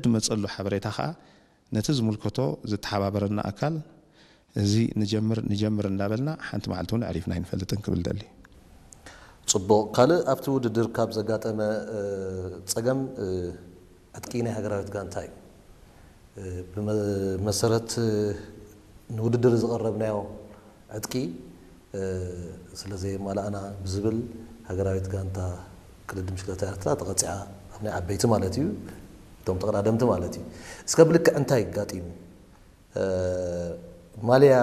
ዝመፀሉ ሓበሬታ ከዓ ነቲ ዝምልከቶ ዝተሓባበረና ኣካል እዚ ንጀምር ንጀምር እንዳበልና ሓንቲ መዓልቲ እውን ኣዕሪፍና ኣይንፈልጥን ክብል ደሊ። ፅቡቕ። ካልእ ኣብቲ ውድድር ካብ ዘጋጠመ ጸገም ዕጥቂ ናይ ሃገራዊት ጋንታ እዩ። ብመሰረት ንውድድር ዝቐረብናዮ ዕጥቂ ስለ ዘየማላእና ብዝብል ሃገራዊት ጋንታ ቅድድም ብሽክለታ ኤርትራ ተቐጺዓ፣ ኣብ ናይ ዓበይቲ ማለት እዩ፣ እቶም ተቐዳደምቲ ማለት እዩ። እስከ ብልክዕ እንታይ ኣጋጢሙ? ማልያ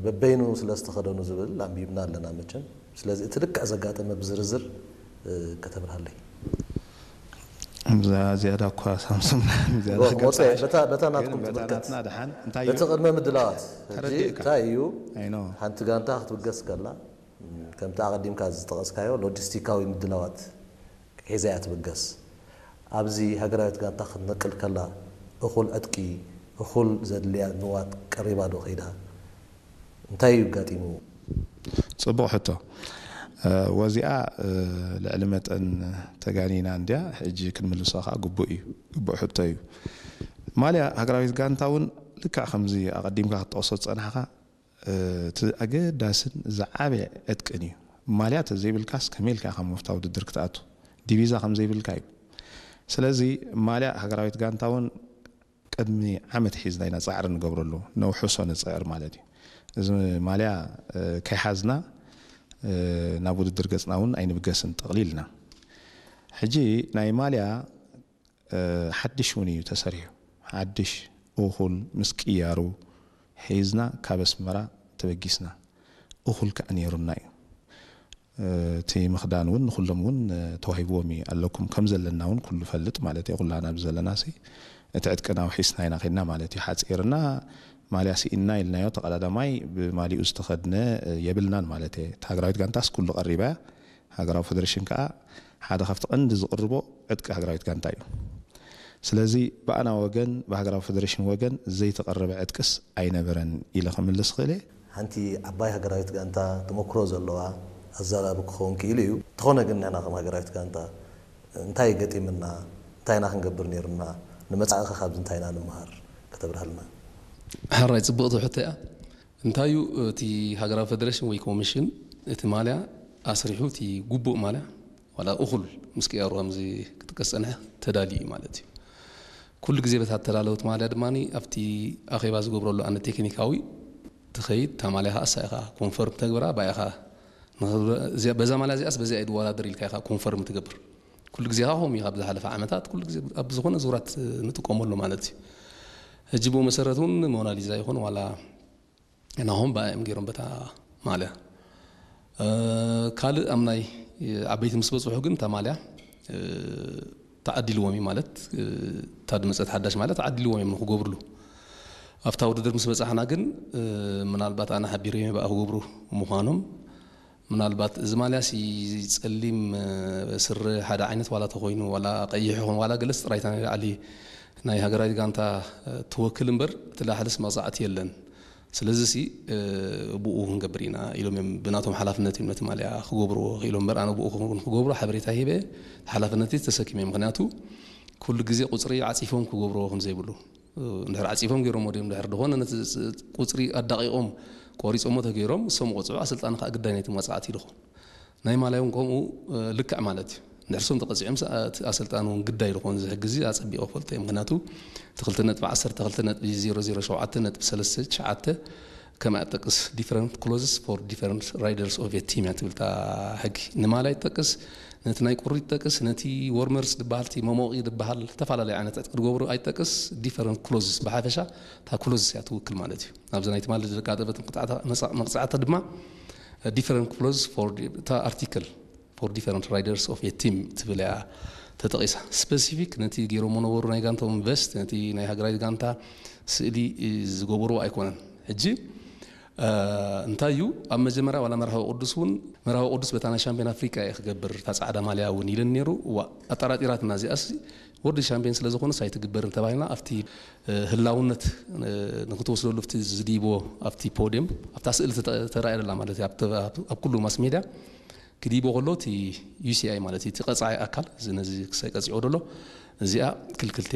በበይኑ ስለ ዝተኸደኑ ዝብል ኣንቢብና ኣለና መቸም። ስለዚ እቲ ልክዕ ዘጋጠመ ብዝርዝር ከተብርሃለይ። እዛ ዝያዳ እኳ ሳምሶም ዝያዳ ክመፅእ ገብፃ በታ በታ ናትኩም ግን በታ ትምልከት ናትና ድሓን እንታይ በቲ እዩ? ቅድመ ምድላዋት ሕጂ ተረዲእካ። እንታይ እዩ? ኣይኖ ሓንቲ ጋንታ ክትብገስ ከላ ከምቲ ኣቐዲምካ ዝጠቐስካዮ ሎጂስቲካዊ ምድላዋት ሒዛ እያ ትብገስ። ኣብዚ ሃገራዊት ጋንታ ክትነቅል ከላ እኹል ዕጥቂ፣ እኹል ዘድልያ ንዋት ቀሪባ ዶ ከይዳ? እንታይ እዩ ኣጋጢሙ? ፅቡቕ ሕቶ። ወዚኣ ልዕሊ መጠን ተጋኒና እንድያ፣ ሕጂ ክንምልሶ ከዓ ግቡእ እዩ፣ ግቡእ ሕቶ እዩ። ማልያ ሃገራዊት ጋንታ እውን ልክዕ ከምዚ ኣቐዲምካ ክትጠቕሶ ዝፀናሕካ እቲ ኣገዳስን ዝዓበየ ዕጥቅን እዩ። ማልያ ተዘይብልካስ ከመይ ኢልካ ኢኻ መፍታ ውድድር ክትኣቱ? ዲቪዛ ከምዘይብልካ እዩ። ስለዚ ማልያ ሃገራዊት ጋንታ እውን ቅድሚ ዓመት ሒዝና ኢና ፃዕሪ ንገብረሉ፣ ነውሕሶ ንፅዕር ማለት እዩ። እዚ ማልያ ከይሓዝና ናብ ውድድር ገፅና እውን ኣይንብገስን ጠቕሊልና። ሕጂ ናይ ማልያ ሓድሽ እውን እዩ ተሰሪሑ። ሓድሽ እኹል ምስ ቅያሩ ሒዝና ካብ ኣስመራ ተበጊስና። እኹል ከዓ ነይሩና እዩ። እቲ ምኽዳን እውን ንኩሎም እውን ተዋሂብዎም እዩ ኣለኩም ከም ዘለና እውን ኩሉ ፈልጥ ማለት እዩ። ኩላና ኣብዚ ዘለና ሲ እቲ ዕጥቅና ውሒስና ኢና ኬድና ማለት እዩ። ሓፂርና ማልያ ስኢንና ኢልናዮ ተቐዳዳማይ ብማሊኡ ዝተኸድነ የብልናን ማለት እየ። እታ ሃገራዊት ጋንታስ ኩሉ ቀሪባ እያ። ሃገራዊ ፌደሬሽን ከዓ ሓደ ካብቲ ቀንዲ ዝቕርቦ ዕጥቂ ሃገራዊት ጋንታ እዩ። ስለዚ ብኣና ወገን ብሃገራዊ ፌደሬሽን ወገን ዘይተቐረበ ዕጥቅስ ኣይነበረን ኢለ ክምልስ ክእል እየ። ሓንቲ ዓባይ ሃገራዊት ጋንታ ተመክሮ ዘለዋ ኣዛራቢ ክኸውን ክኢሉ እዩ። እንተኾነ ግን ንሕና ከም ሃገራዊት ጋንታ እንታይ ገጢምና፣ እንታይ ኢና ክንገብር ነይሩና፣ ንመጻኢኸ ካብዚ እንታይ ኢና ንምሃር ከተብርሃልና? ሕራይ ጽብቕቲ ሕቶ እያ። እንታይ እዩ እቲ ሃገራዊ ፌደሬሽን ወይ ኮሚሽን እቲ ማልያ ኣስሪሑ እቲ ግቡእ ማልያ ዋላ እኹል ምስ ቅያሩ ከምዚ ክጥቀስ ጸንሐ ተዳልዩ እዩ ማለት እዩ። ኩሉ ግዜ በታ እተዳለወት ማልያ ድማ ኣብቲ ኣኼባ ዝገብረሉ ኣነ ቴክኒካዊ ትኸይድ እታ ማልያ ከዓ እሳ ኢኻ ኮንፈርም ተግብራ ባኢኻ በዛ ማልያ እዚኣስ በዚኣ ይድወዳደር ኢልካ ኢኻ ኮንፈርም ትገብር። ኩሉ ግዜ ከዓ ከምኡ እዩ ካብ ዝሓለፈ ዓመታት ኩሉ ግዜ ኣብ ዝኾነ ዙራት ንጥቀመሉ ማለት እዩ። ሕጂ ብኡ መሰረት እውን ሞናሊዛ ይኹን ዋላ ናሆም ብኣዮም ገይሮም በታ ማልያ ካልእ ኣብ ናይ ዓበይቲ ምስ በፅሑ ግን እታ ማልያ ተዓዲልዎም እዩ ማለት እታ ድመፀት ሓዳሽ ማለት ተዓዲልዎም እዮም ንክገብርሉ ኣብታ ውድድር ምስ በፃሕና ግን ምናልባት ኣነ ሓቢረዮም ብኣ ክገብሩ ምዃኖም ምናልባት እዚ ማልያ ሲ ፀሊም ስረ ሓደ ዓይነት ዋላ ተኮይኑ ዋላ ቀይሕ ይኹን ዋላ ገለስ ጥራይታ ናይ ላዕሊ ናይ ሃገራዊት ጋንታ ትወክል እምበር እቲ ላሕልስ መቕፃዕቲ የለን ስለዚ ሲ ብኡ ክንገብር ኢና ኢሎም እዮም ብናቶም ሓላፍነት እዮም ነቲ ማልያ ክገብርዎ ክኢሎም እምበር ኣነ ብኡ ክገብሩ ሓበሬታ ሂበ ሓላፍነት ተሰኪመ ምክንያቱ ኩሉ ግዜ ቁፅሪ ዓፂፎም ክገብርዎ ከምዘይብሉ እንድሕር ዓፂፎም ገይሮም ወዲኦም እንድሕር ዝኾነ ነቲ ቁፅሪ ኣዳቂቖም ቆሪፆሞ ተገይሮም እሶም ቆፅዑ ኣሰልጣኒ ከዓ ግዳይ ናይቲ መፅዓት ይልኾን ናይ ማላይ እውን ከምኡ ልክዕ ማለት እዩ እንድሕር ሶም ተቐፂዖም እቲ ኣሰልጣኒ እውን ግዳይ ልኾን እዚ ሕጊ እዚ ኣፀቢቑ ክፈልጦ እዩ ምክንያቱ እቲ ክልተ ነጥቢ ዓሰርተ ክልተ ነጥቢ ዜሮ ዜሮ ሸውዓተ ነጥቢ ሰለስተ ትሽዓተ ከመይ ኣጠቅስ different clauses for different riders of a team እያ ትብል እታ ሕጊ ንማላይ ትጠቅስ ነቲ ናይ ቁሪ ትጠቅስ ነቲ ወርመርስ ዝበሃል እቲ መሞቒ ዝበሃል ዝተፈላለዩ ዓይነት ዕጥቂ ዝገብሩ ኣይትጠቅስ different clauses ብሓፈሻ እታ clauses እያ ትውክል ማለት እዩ ኣብዚ ናይ ትማሊ ዘቃጠበት መቕፃዕታ ድማ different clauses for እታ article for different riders of a team ትብል እያ ተጠቒሳ specific ነቲ ገይሮሞ ነበሩ ናይ ጋንታኦም vest ነቲ ናይ ሃገራዊት ጋንታ ስእሊ ዝገበርዎ ኣይኮነን ሕጂ እንታይ እዩ ኣብ መጀመርያ ዋላ መርሃዊ ቅዱስ እውን መርሃዊ ቅዱስ በታ ናይ ሻምፒዮን ኣፍሪቃ እየ ክገብር እታ ፃዕዳ ማልያ እውን ኢለን ነይሩ እዋ ኣጠራጢራትና እዚኣስ ወርልድ ሻምፒዮን ስለ ዝኾነስ ኣይትግበርን ተባሂልና ኣብቲ ህላውነት ንክትወስደሉ ኣብቲ ዝድይቦ ኣብቲ ፖድየም ኣብታ ስእሊ ተራእየ ደላ ማለት እዩ ኣብ ኩሉ ማስ ሜድያ ክድይቦ ከሎ እቲ ዩሲኣይ ማለት እቲ ቀፃዒ ኣካል እዚ ነዚ ክሳይ ቀፂዖ ደሎ እዚኣ ክልክልቲ